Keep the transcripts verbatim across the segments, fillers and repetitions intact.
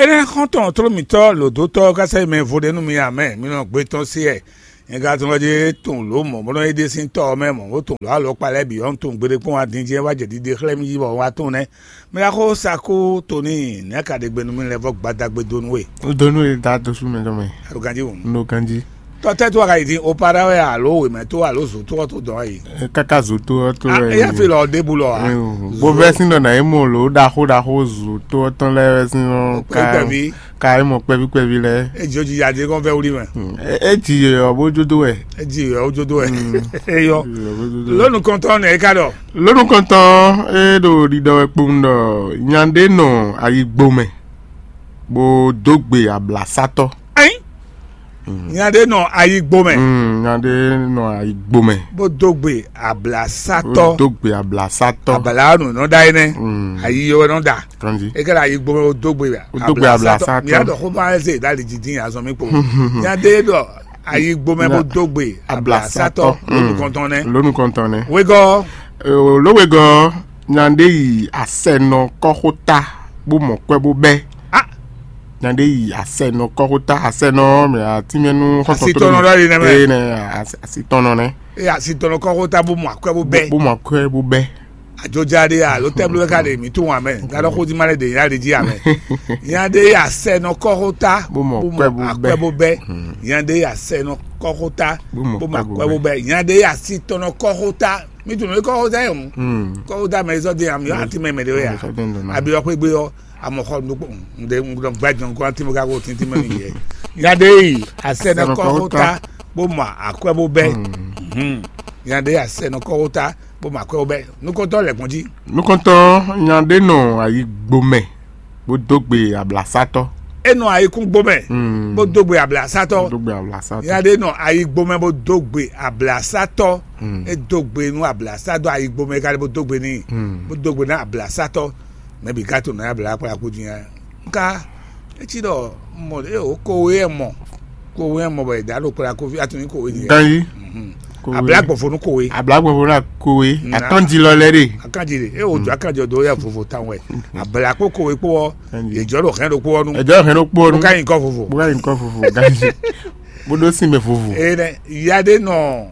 Ɛ xɔ́ntɔn tló mǐtɔn lǒdótɔ́ ɔ́ ká sɛ́ mɛ vo ɖé nú mi ǎ mɛ, mi nɔ gbé tɔn se ɛ. Nyɛ ka tɔn ɔ́ ɖíe tɔn lǒ mɔ̌ bó nɔ yi ɖe sín tɔ́ ɔ́ mɛ mɔ̌ bó tɔn lǒ alɔkpa lɛ́ɛ bǐ ɔ́, un tunwun gbeɖé kpɔ́n wá din jɛ́n wá jɛ ɖiɖe xlɛ́ mì yi bɔ un wá tunwun nɛ́. Mɛ ɖaxó Sakú Toni, nɛ̌ ka ɖe gbe nú mì lɛ́ vɔ́ gbadagbe dó nú we? Un dó nú we da dó sú mɛ tɔn mɛ. A ɖo ganjí wǔ. Un ɖo ganjí. Tɔ́ tɛ́ tó wá ka yi din? O para wɛ alo wěmɛ tó alo zǒ tó ɔ́ tó dɔn wá yi? Káká zǒ tó ɔ́ tó wɛ. Éyɛ́ fi lɔ ɖěbǔ lɔ ǎ. Bó vɛ́ sín ɖɔ nǎ yi mɔ lǒ ɖaxó ɖaxó zǒ tó ɔ́ tɔn lɛ́ɛ vɛ́ sín ɔ́ ká. Kpɛví. Ka yi mɔ kpɛví kpɛví lɛ́ɛ. E jǒ ji yadé kɔn vɛ́ wlí mɛ. É ji yě ɔ́ bó jó dó wɛ. E ji yě ɔ́ jó dó wɛ. Eyɔ. Lónù kɔntɔn nɛ e ka ɖɔ? Lónù kɔntɔn é ɖo ɖiɖɔ wɛ kpowun ɖɔ nya ɖé nɔ ayigbo mɛ bó dó gbe ablasátɔ́. Ayin. Nya ɖé nɔ ayigbo mɛ. Mm, nya ɖé nɔ ayigbo mɛ. Bó dó gbe ablasátɔ́. Bó dó gbe ablasátɔ́. Abala ɔ́ nǔ nɔ ɖa énɛ́. Mm. Ayi ɔ́ nɔ ɖa. Kanji. E ka ɖo ayigbo mɛ bó dó gbe. Bó dó gbe ablasátɔ́. Mi yá ɖɔ xó ma ɛ zé ɖali jijin azɔn mi kpo. Nya ɖé ɖɔ ayigbo mɛ bó dó gbe ablasátɔ́. Lónù kɔntɔn nɛ. Lónù kɔntɔn nɛ. Wegɔ́. Ló wegɔ́ nya ɖé yi asɛnɔ kɔ́xóta bó mɔ kwɛ́ bó bɛ́. Ah. Nya ɖé yi asɛnɔ kɔ́xóta, asɛnɔ mɛ atínmɛnú xɔsɔtɔ. Asitɔnɔ ɖɔ yi nɛ mɛ. Ee nɛ. Asitɔnɔ nɛ. Eye asitɔnɔ kɔ́xóta bó mɔ akwɛ́ bó bɛ́. Bó mɔ akwɛ́ bó bɛ́. Àjọjá ɖé alo tɛ́blú wɛ ká ɖe mǐ tunwun amɛ, gǎɖɔ xódímá lɛ́ ɖe nyá ɖe jí amɛ. Nya ɖé yi asɛnɔ kɔ́xóta bó mɔ akwɛ́ bó bɛ́. Nya ɖé yi asɛnɔ kɔ́xóta bó mɔ akwɛ́ bó bɛ́. Nya ɖé yi asitɔnɔ kɔ́xóta. Mí tunwun kɔ́xóta yɛ hǔn. Kɔ́xóta mɛ zɔ́ dé amì ɔ́ àti mɛ mɛ ɖé wɛ ya. Abi ɔ́ xwé gbé ɔ́, amɔ xɔ nukpó ŋɖe ŋɖɔ gbajɔ nukó àti mɛ ká kó tíntín mɛ nìyɛ. Nya ɖé yi asɛnɔ kɔ́xóta bó mɔ akwɛ́ bó bɛ́. Nya ɖé yi asɛnɔ kɔ́xóta bó mɔ akwɛ́ bó bɛ́. Nukɔntɔn lɛ gbɔn jí. Nukɔntɔn nya ɖé nɔ ayigbo mɛ bó dó gbe ablasátɔ́. É nɔ ayikúngbo mɛ bó dó gbe ablasátɔ́. Dó gbe ablasátɔ́. Nya ɖé nɔ ayigbo mɛ bó dó gbe ablasátɔ́. É dó gbe nú ablasátɔ́ ayigbo mɛ ká lɛ bó dó gbe n'i. Bó dó gbe ná ablasátɔ́. Mɛ bǐ ka to nɔ abla kplá kú din. Nka etí ɖɔ mɔ eo kowe ɛ mɔ kowe ɛ mɔ bɔ è dǎ ɖo kplá kófí atún ní kowe din. Ganyi. Abla gbɔ̀fó nú kowe. Abla gbɔ̀fó ná kowe. Atɔ́njilɔ lɛ ɖe. Akanji ɖe e wò jɔ akanji ɔdɔ yɛ vovo tan wɛ. Abla kpó kowe kpó ɔ yè jɔ ɖo hɛn ɖo kpó ɔnu. Ɛ jɔ hɛn ɖo kpó ɔnu. Bó ka nyi kɔ vovo. Bó ka nyi kɔ vovo. Ganyi. Bó ɖó sin mɛ vovo. Ee nɛ ya ɖe nɔ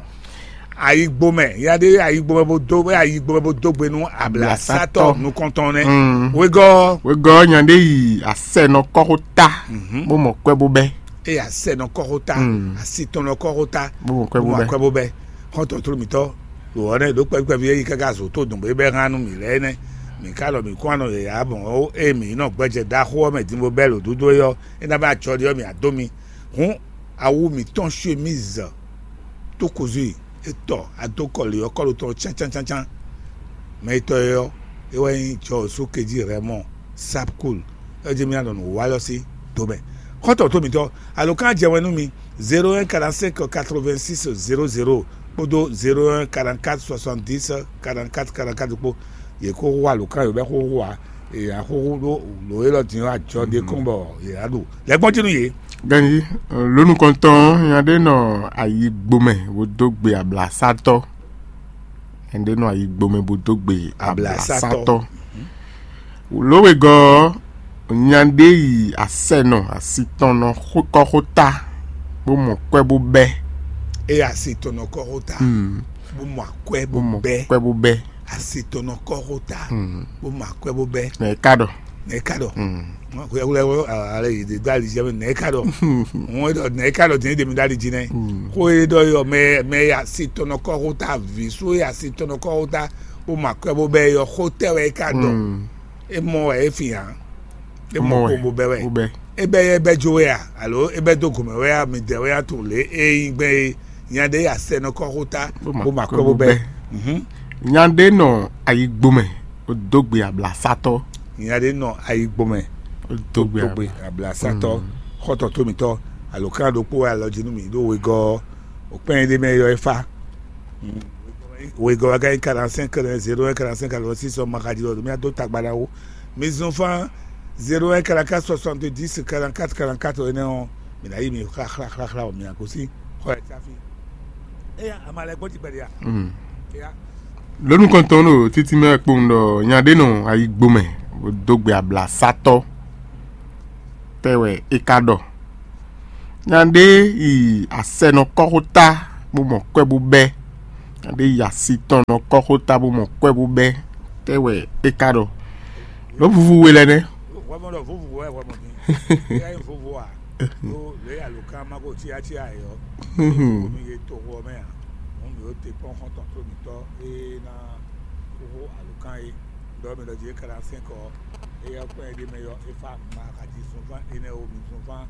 ayigbo mɛ ya ɖe ayigbo mɛ bó dó ayigbo mɛ bó dó gbe nú ablasátɔ nukɔntɔn nɛ. Wegɔ. Wegɔ nya ɖe yi asɛnɔ kɔxota. Bó mɔ kwɛ bó bɛ. Eye asɛnɔ kɔxota. Asitɔnɔ kɔxota. Bó mɔ kwɛ bó bɛ. Kwɛ bó bɛ. Xɔntɔn tló mitɔ. Wɔ nɛ ɖo kpɛkpɛvi eyi kaka zo tó dùn bɛ hàn nú mi lɛ nɛ. Mi ka lɔ mi kún anɔ yɛya bɔn o e mi nɔ gbɛjɛ ɖaxó ɔ́ mɛ din bó bɛ lǒ dúdú é ɔ́, é ná bɛ ajɔ ɖi ɔ́ mi adó mi. Hǔn awu mǐtɔn chemise tó kozo e tɔ adó kɔli ɔ́ kɔlu tɔn cáncancancan. Mɛ etɔ́ e ɔ́, é wɛ nyí jɔ sókejí Rɛmɔ Sapkul. É jẹ́ mi anɔ nǔ wa lɔ sí domɛ. Xɔ́ntɔn tó mitɔ, alo kan jɛ wɛn nú mi zéro un quarante cinq quatre vingt six zéro zéro kpódó zéro un quarante quatre soixante dix quarante quatre quarante quatre kpó. Yě kó hu alǒkan yǒ bɛ́ xóxó ǎ. È nǎ xóxó ɖó lǒ élɔ́ din ɔ́ ajɔ ɖé kɔn bɔ yě ná ɖu lɛ́ gbɔn jí nú yě. Ganji, lónú kɔntɔn nya ɖé nɔ ayi gbomɛ bó dó gbe ablasátɔ́. Nya ɖé nɔ ayi gbomɛ bó dó gbe ablasátɔ́. Lǒ wegɔ́ ɔ́, nya ɖé yi asɛnɔ asitɔnɔ kɔ́xóta bó mɔ kwɛ́ bó bɛ́. É asitɔnɔ kɔ́xóta bó mɔ akwɛ́ bó bɛ́. Kwɛ́ bó bɛ́. Asitɔnɔ kɔ́xóta bó mɔ akwɛ́ bó bɛ́. Nɛ ka ɖɔ. Nɛ ka ɖɔ. Wɛwlɛ wɛ ale yi de do ali jɛ mɛ nɛ ka ɖɔ. Ŋun ɖɔ nɛ ka ɖɔ din de mi do ali ji nɛ. Ko e ɖɔ yɔ mɛ mɛ ya asitɔnɔ kɔ́xóta visu ya asitɔnɔ kɔ́xóta bó mɔ akwɛ́ bó bɛ́ yɔ xó tɛ wɛ ka ɖɔ. E mɔ wɛ e fi hàn. E mɔ ko bó bɛ́ wɛ. E bɛ́ yɛ bɛ́ jó wɛ a alo e bɛ́ dó gomɛ wɛ a mi dɛ wɛ a to lě e nyí gbɛn e nya ɖe ya sɛ nɔ kɔ́xóta bó mɔ akwɛ́ bó bɛ́. Nya ɖé nɔ ayigbomɛ bó dó gbe ablasátɔ́. Nya ɖé nɔ ayigbomɛ bó dó gbe ablasátɔ́. Xɔtɔ tó mitɔ alo kan ɖokpó wɛ alɔ jí nú mi ɖó wegɔ́ òkpɛn ɖé mɛ yɔ e fa. Wegɔ́ wɛ ka nyí quarante-cinq zéro un quarante-cinq quatre-vingt-six ɔ́ ma xa jí lɔ ɖo mía dó tagba ɖaxó. Mi zɔn fán zéro un quarante-quatre soixante-dix quarante-quatre quarante-quatre énɛ́ ɔ́, mi ná yi mi xláxláxláxlá ɔ mi ná gosín xɔ ɛ tsáfi. Éya ama lɛ gbɔdzi gbɛɖe a? Éya. Lónú kɔntɔn ɖo títí mɛ kpowun ɖɔ nya ɖé nɔ ayigbomɛ bó dó gbe ablasátɔ́. tɛ́ wɛ é ka ɖɔ? Nya ɖé yi asɛnɔkɔ́xota bó mɔ kwɛ́ bó bɛ́. Nya ɖé yi asitɔnɔkɔ́xota bó mɔ kwɛ́ bó bɛ́. Tɛ́ wɛ é ka ɖɔ? Lǒ vuvu we lɛ́ɛ nɛ́. Hwɛmɔ ɖɔ vovo wɛ hwɛmɔ mi. Eya nyí vovo a? Ɖó lě alǒkan ma ko cia cia yɔ. Mi ye toxo ɔ́ mɛ a? Mɔ̌ mi ɖo te kpɔ́n xɔ́ntɔn tló mǐtɔn e ná xóxó alǒkan é. Ɖɔ mi ɖɔ jí é ka ná sɛn kɔ. Eya kpɔ́n é ɖ'é mɛ yɔ é fá ma ka jí zunfán énɛ́ o mi zunfán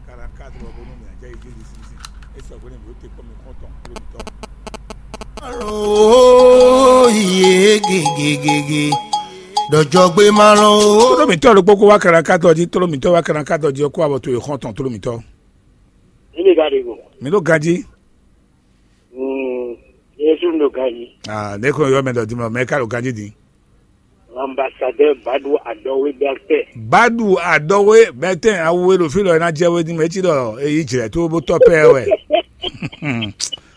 ka ná ka dlɔ bónú mi ná jɛ yi jí di sísí. É sɔgbe nú mi ɖo te kpɔ́n mi xɔ́ntɔn tló mǐtɔn. Oh, yeah, gege, gege. Dɔjɔgbe ma lɔn o. Tlóló mǐtɔn ɖokpó kó wá kɛɖakátɔ jí, tlóló mǐtɔn wá kɛɖakátɔ jí ɔ́ kó abɔ to e xɔ́ntɔn tlóló mǐtɔn. Ní mi ka ɖe go. Mǐ ɖo ganjí. Mm, Yesu ɖo ganjí. Ah, ne ko yɔ mɛ ɖɔ dimɔ mɛ ka ɖo ganjí din. Ambassadeur Badou Adɔwe Bertin. Badu adɔwe bɛtɛn awu e ɖo fí lɔ e ná jɛ we din mɛ cí ɖɔ e yi jlɛ tó bó tɔ pɛ wɛ.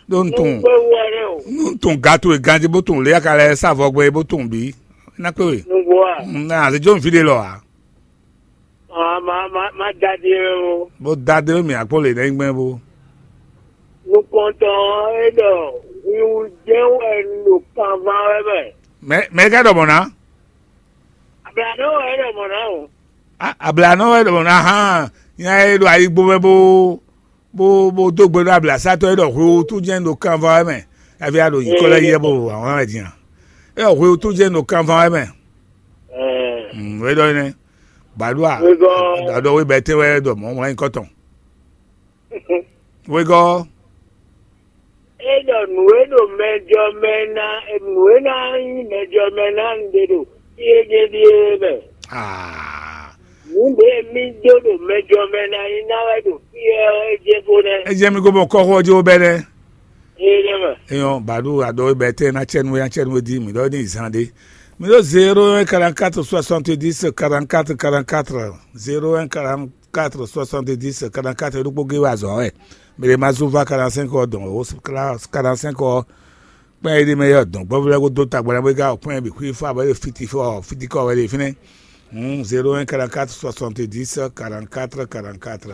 Ɖó n tun Gbé wɛ ɖe o. N tun gato e ganjí bó tun lé aka lɛ sa vɔ gbɛ bó tun bí. Na kpé we. Nugbo a. Na àti jó n fi ɖe lɔ a. Ah, ma ma ma dadi o. Bó da dé mi akpó lè nɛ gbɛn bó. Nukɔntɔn e ɖɔ wiwu jɛ wɛ ɖo kanvan wɛ mɛ. Mɛ mɛ ka ɖɔ mɔ ná. Ablanɔ wɛ ɖɔ mɔ ná o. Ablanɔ wɛ ɖɔ mɔ ná hán. Nya e ɖo ayigbo mɛ bó bó bó dó gbe ɖó ablasátɔ́ e ɖɔ hwewútu jɛ́n ɖo kanvan wɛ mɛ. Hafi a ɖo nyǐkɔ lɛ́ɛ yɛ bó wǎn wɛ din a? E ɖɔ hwewútu jɛ́n ɖo kanvan wɛ mɛ. Ɛɛ, Mm, wé ɖɔ nɛ́. Bàɖúà, wégɔ́. Aɖɔ wé bɛtɛ wɛ ɖɔ mɔ̌ wlán nyǐkɔ tɔn. Wégɔ́. E ɖɔ nǔ e ɖo mɛjɔ mɛ ná, nǔ e ná nyí mɛjɔ mɛ ná un ɖe ɖo fí e jɛ ɖíe mɛ. Ah. Nǔ ɖě mì dó ɖo mɛjɔ mɛ ná nyí ná wɛ ɖo fí ɛ é jɛ bó nɛ́. E jɛ mi ko mɔ kɔxɔ jí wo bɛ nɛ. Ee nɛ mɛ. Eyɔn bàɖú aɖɔ wé bɛ tɛ ná cɛnu wé ná cɛnu wé di mi ɖɔ ní zan ɖé. Mi ɖo zéro un quarante-quatre soixante-dix quarante-quatre quarante-quatre, zéro un quarante-quatre soixante-dix quarante-quatre ɖokpó gé wá azɔ̌ wɛ. Mi ɖe ma zú va quarante-cinq ɔ dɔn o quarante-cinq ɔ kpɛn e ɖi mɛ yɔ dɔn gbɔvlɛ ko dó tagbana bó ga kpɛn bi xwí fɔ abɔ fiti fɔ fiti kɔ wɛ ɖe fínɛ. Hmm, zéro un quarante-quatre soixante-dix quarante-quatre quarante-quatre.